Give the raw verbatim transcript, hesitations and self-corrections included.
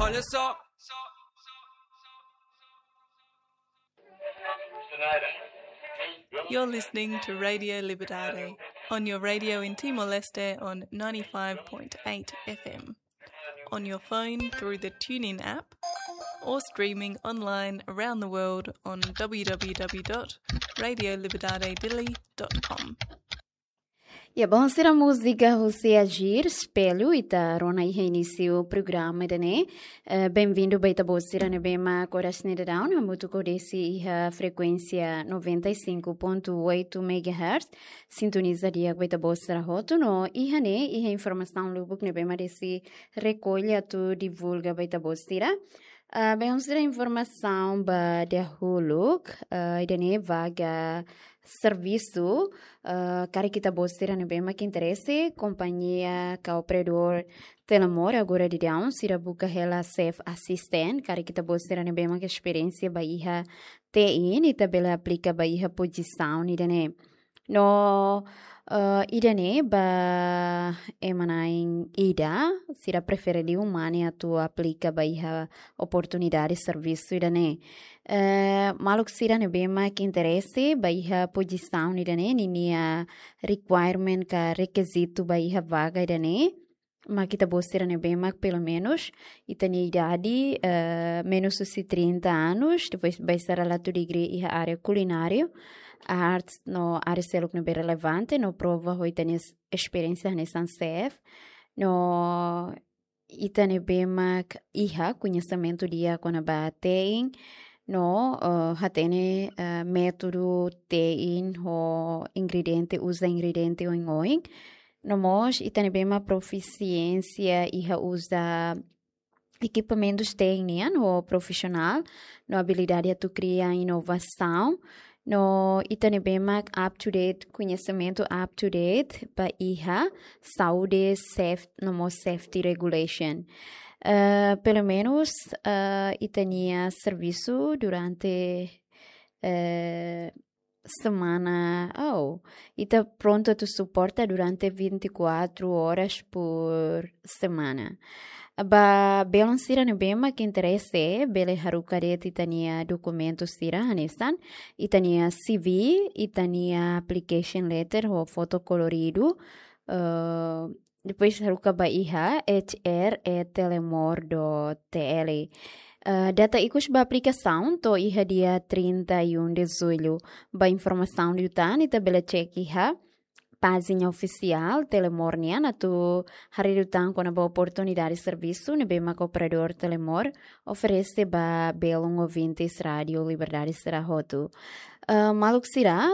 Olha só. You're listening to Radio Liberdade on your radio in Timor-Leste on ninety-five point eight F M, on your phone through the TuneIn app, or streaming online around the world on w w w dot radio liberdade dili dot com. Ya, bom, sira múzika husi Agir Espelho, ita rona iha inísiu programa ida-ne'e. Eh, bem-vindo ba ita-boot sira ne'ebé mak oras ne'e daudaun hamutuk ho desi iha frekuénsia noventa e cinco ponto oito megahertz. Sintoniza di'ak ba ita-boot sira hotu no iha ne'e iha informasaun lubuk ne'ebé mak desi rekolla atu divulga ba ita-boot sira. Ah, bem, sira informasaun ba dahuluk, ah, ida-ne'e vaga servisu, ah, karik ita-boot sira ne'ebé mak interese, kompañia ka operadór Telemor agora daudaun sira buka hela chef assistant, karik ita-boot sira ne'ebé mak esperiénsia ba iha T I, ita bele aplika ba iha pozisaun ida-ne'e. No, eh, ida-ne'e ba ema na'in ida, sira prefere liu mane atu aplika ba iha oportunidade servisu ida-ne'e. Eh, maluk sira ne'ebé mak interese ba iha pozisaun ida-ne'e, ninia requirement ka rekizitu ba iha vaga ida-ne'e, mak ita-boot sira ne'ebé mak pelumenus ita-nia idade, eh, menus husi trinta anos, depois ba sira la iha degree iha área kulinária, artes no área seluk ne'ebé relevante, no prova ho ita-nia es-, esperiénsia hanesan chef, no ita ne'ebé mak iha koñesimentu di'ak kona-ba T I, no, eh, hatene, eh, métodu T I ho ingrediente, uza ingrediente oioin. No mós, ita ne'ebé mak profisiénsia iha uza ekipamentus T I nian ho profisionál, no abilidade atu kria inovasaun, no ita ne'ebé mak up to date, koñesimentu up to date ba iha saúde, saf-, no mós safety regulation. Eh, pelumenus, eh, ita-nia servisu durante, eh, semana, oh, ita prontu atu suporta durante vinte e quatro horas por semana. Ba belun sira ne'ebé mak interese, bele haruka de'it ita-nia dokumentu sira hanesan, ita-nia C V, ita-nia application letter ho foto koloridu, eh, depois haruka ba iha H R at telemor dot T L. Eh, data ikus ba aplikasaun to'o iha dia trinta e um de julho. Ba informasaun liután, ita bele cek iha pájina ofisiál Telemor nian atu haree liután kona-ba oportunidade servisu ne'ebé mak operadór Telemor oferese ba belun ouvintes Rádio Liberdade sira hotu. Eh, maluk sira,